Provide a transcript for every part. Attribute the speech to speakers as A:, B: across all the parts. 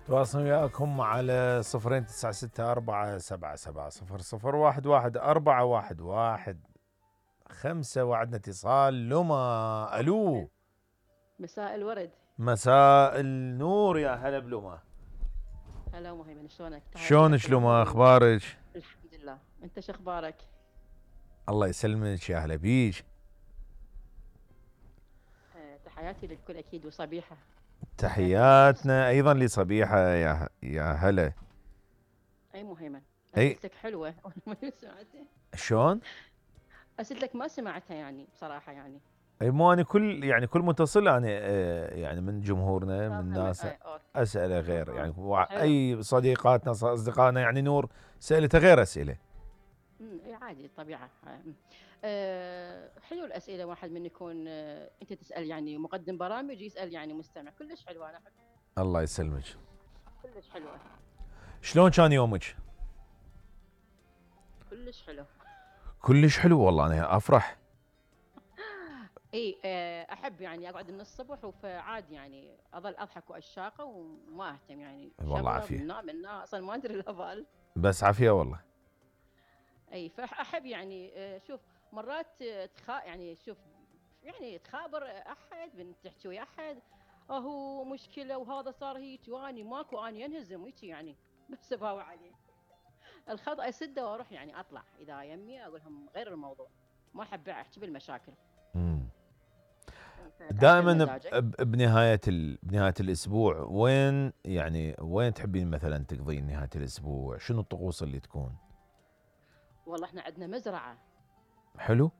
A: تواصل وياكم على 0964770011 وعدنا اتصال. لما الو.
B: مساء الورد.
A: مساء النور، يا هلا بلما.
B: هلا مهيمن، شلونك؟
A: شلونك لما؟ اخبارك؟
B: الحمد لله، انت شو اخبارك؟
A: الله يسلمك، يا هلا بيك.
B: تحياتي للكل اكيد، وصبيحه.
A: تحياتنا ايضا لصبيحه، يا هلا.
B: اي مهيمن،
A: اي
B: اسئلتك حلوه. ما سمعتها.
A: شلون؟
B: اسئلتك ما سمعتها يعني بصراحه يعني.
A: اي مو انا كل متصل انا يعني من جمهورنا من ناس اسئله غير يعني اي صديقاتنا اصدقائنا يعني نور سالتها غير اسئله.
B: اي عادي الطبيعه. حلو الاسئله، واحد من يكون انت تسال يعني مقدم برامج يسال يعني مستمع، كلش حلوه. انا احب.
A: الله يسلمك.
B: كلش حلوه.
A: شلون كان يومك؟
B: كلش حلو.
A: كلش حلو والله، انا افرح.
B: اي احب يعني اقعد من الصبح وفعادي يعني اظل اضحك واشاقه وما اهتم يعني.
A: والله عافيه.
B: من اصلا ما ادري الهبال.
A: بس عافيه والله.
B: اي فاحب يعني شوف مرات يعني شوف يعني تخابر احد تحكي ويا احد هو مشكله وهذا صار هيك واني ماكو، اني انهزم هيك يعني. بس اباوع عليه الخطا اسده واروح يعني اطلع اذا يمي اقول لهم غير الموضوع. ما احب احكي بالمشاكل.
A: دائما بنهايه الاسبوع وين تحبين مثلا تقضين نهايه الاسبوع؟ شنو الطقوس اللي تكون؟
B: والله احنا عندنا مزرعه.
A: حلو.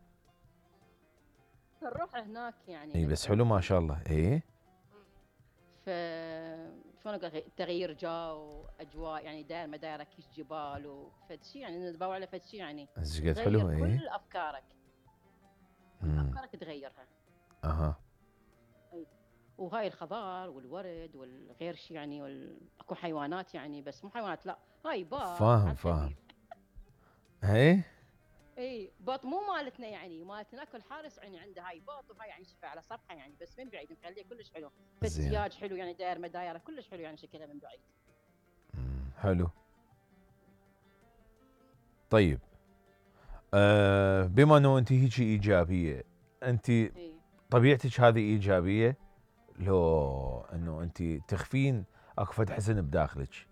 B: نروح هناك يعني.
A: اي بس حلو ما شاء الله. ايه
B: ف شلون اقول، تغيير جو اجواء يعني، داير ما دايره كيش جبال وفد شيء يعني، ندبوا على فد شيء يعني.
A: قد حلو. ايه
B: كل افكارك. افكارك تغيرها.
A: اها.
B: وهاي الخضار والورد والغير شيء يعني اكو حيوانات يعني، بس مو حيوانات، لا هاي باط.
A: فاهم. هي
B: اي باط مو مالتنا يعني، مالتنا اكل حارس يعني عنده هاي باط، وهاي يعني شوفها على صفحه يعني بس من بعيد مخليه كلش حلو. فالسياج حلو يعني، داير ما دايره كلش حلو يعني شكلها من بعيد.
A: حلو. طيب بما انه انت هيك ايجابيه، انت طبيعتك هذه ايجابيه لو انه انت تخفين اكو فد حزن بداخلك؟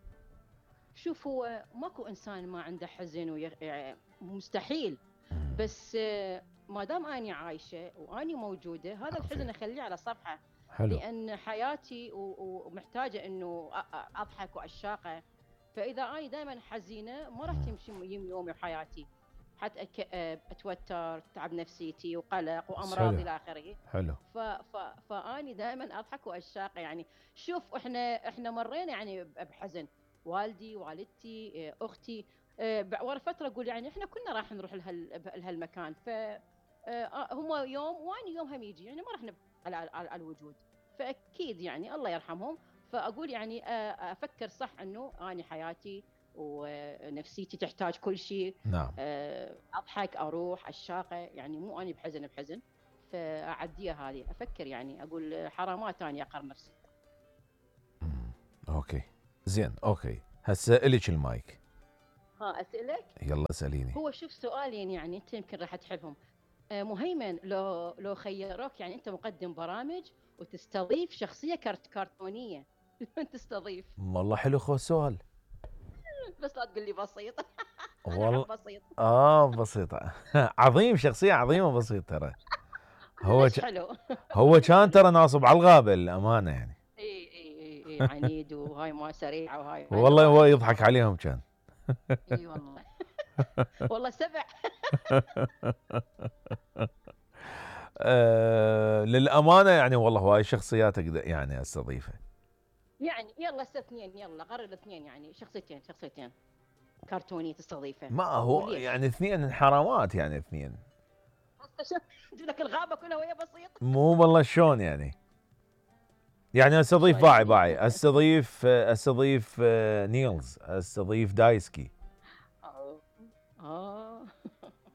B: شوف هو ماكو انسان ما عنده حزن مستحيل. بس ما دام اني عايشه واني موجوده هذا الحزن اخليه على صفحه.
A: حلو.
B: لان حياتي ومحتاجه انه اضحك واشاقه. فاذا اني دائما حزينه ما راح تمشي يومي وحياتي. حتى اتوتر، تعب نفسيتي وقلق وامراض الى اخره.
A: حلو.
B: فاني دائما اضحك واشاقه يعني. شوف احنا مرينا يعني بحزن. والدي، والدتي، اختي. ورا فتره اقول يعني احنا كنا راح نروح لهالمكان. ف هم يوم واني يوم هم يجي يعني، ما راح نبقى على الوجود. فاكيد يعني الله يرحمهم. فاقول يعني افكر صح انه اني حياتي ونفسيتي تحتاج كل شيء.
A: نعم.
B: اضحك، اروح الشاقه يعني، مو اني بحزن. فاعديها هذه، افكر يعني اقول حرامات اني اقر نفسي.
A: اوكي زين. اوكي هسه الك المايك.
B: اسالك.
A: يلا اساليني.
B: هو شوف سؤالين يعني انت يمكن راح تحبهم. مهيمن، لو خيروك يعني انت مقدم برامج وتستضيف شخصيه كرتونيه من تستضيف؟
A: والله حلو خو السؤال.
B: بس لا تقول لي بسيط.
A: والله
B: بسيط.
A: بسيطه. عظيم، شخصيه عظيمه بسيط ترى.
B: حلو.
A: هو كان ترى ناصب على الغابه الامانه يعني.
B: اي عنيد وهاي ما سريعه وهاي.
A: والله هو يضحك عليهم كان.
B: اي والله. والله سبع.
A: للامانه يعني والله هواي شخصيات اقدر يعني استضيفها.
B: يعني يلا اثنين، يلا قرر اثنين يعني، شخصيتين كرتونيه تستضيفها.
A: ما هو يعني اثنين انحرامات يعني اثنين.
B: تجيب لك الغابه كلها وهي بسيط.
A: مو والله شلون يعني. يعني استضيف باعي استضيف نيلز، استضيف دايسكي.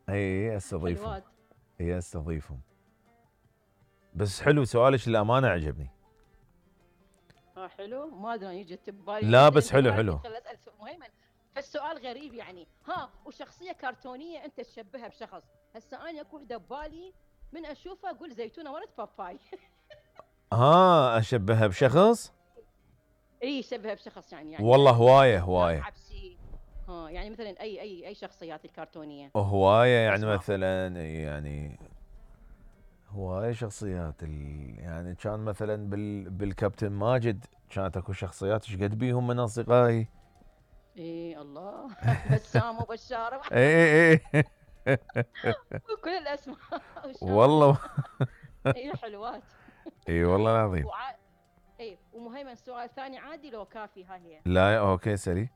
A: اي استضيفهم. اي استضيفهم. بس حلو سؤالك للامانه عجبني.
B: حلو، ما ادري أنا يجي ببالي
A: لا
B: شيء،
A: بس
B: انت
A: حلو
B: ما
A: حلو.
B: خل اسال مهيمن. فالسؤال غريب يعني، ها وشخصيه كرتونيه انت تشبهها بشخص. هسه انا اكو وحده ببالي من اشوفها اقول زيتونه ولد باباي.
A: اشبهها بشخص.
B: اي شبهها بشخص
A: والله
B: يعني
A: هوايه
B: ناس
A: هوايه
B: عبسي. ها يعني مثلا اي شخصيات الكرتونيه.
A: هوايه، يعني
B: اسماء.
A: مثلا يعني هوايه شخصيات يعني كان مثلا بالكابتن ماجد كانت اكو شخصيات ايش قد بيهم من اصدقائي.
B: اي الله. بسام وبشاره
A: اي اي
B: وكل الاسماء وشامل.
A: والله.
B: اي حلوات.
A: اي والله العظيم.
B: اي ومهيمن سؤال ثاني عادي لو كافي؟ ها هي
A: لا اوكي سليم.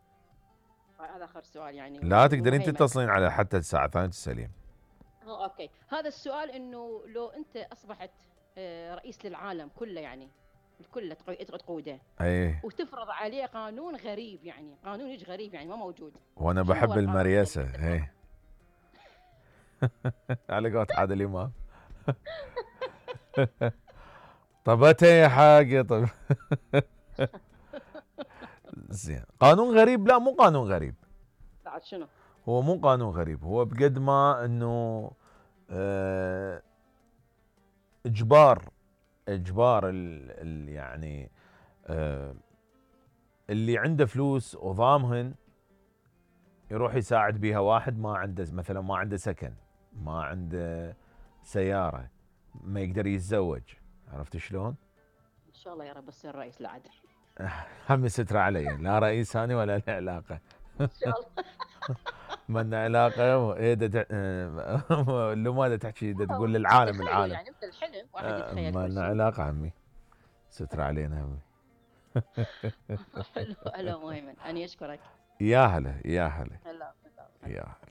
B: هذا اخر سؤال يعني
A: لا تقدرين
B: ومهيمن.
A: تتصلين على حتى الساعه 2 سليم.
B: اوكي، هذا السؤال انه لو انت اصبحت رئيس للعالم كله يعني الكل تقوده
A: اي
B: وتفرض عليه قانون غريب، يعني قانون غريب يعني ما موجود.
A: وانا
B: شنو هو
A: بحب
B: القانون الغريب
A: المريسه
B: اللي تفرضه؟
A: اي. على قولة عادل امام. طبته يا حاجه طب. زين قانون غريب؟ لا مو قانون غريب.
B: بعد شنو؟
A: هو مو قانون غريب، هو بقد ما انه آه، اجبار يعني آه، اللي عنده فلوس وضامهن يروح يساعد بيها واحد ما عنده، مثلا ما عنده سكن، ما عنده سيارة، ما يقدر يتزوج. عرفت شلون؟
B: ان شاء الله يا رب تصير رئيس العدل.
A: هم ستر علي، لا رئيس ثاني ولا له علاقة.
B: ان شاء الله.
A: من علاقة ايه اللي ما تحكي تقول للعالم
B: تخيل
A: العالم.
B: يعني مثل الحلم واحد يتخيل
A: ما
B: كل
A: لنا
B: شيء.
A: علاقة عمي، ستر علينا عمي.
B: حلو. مهيمن انا اشكرك.
A: يا هلا يا هلا
B: هلا.
A: يا هلا.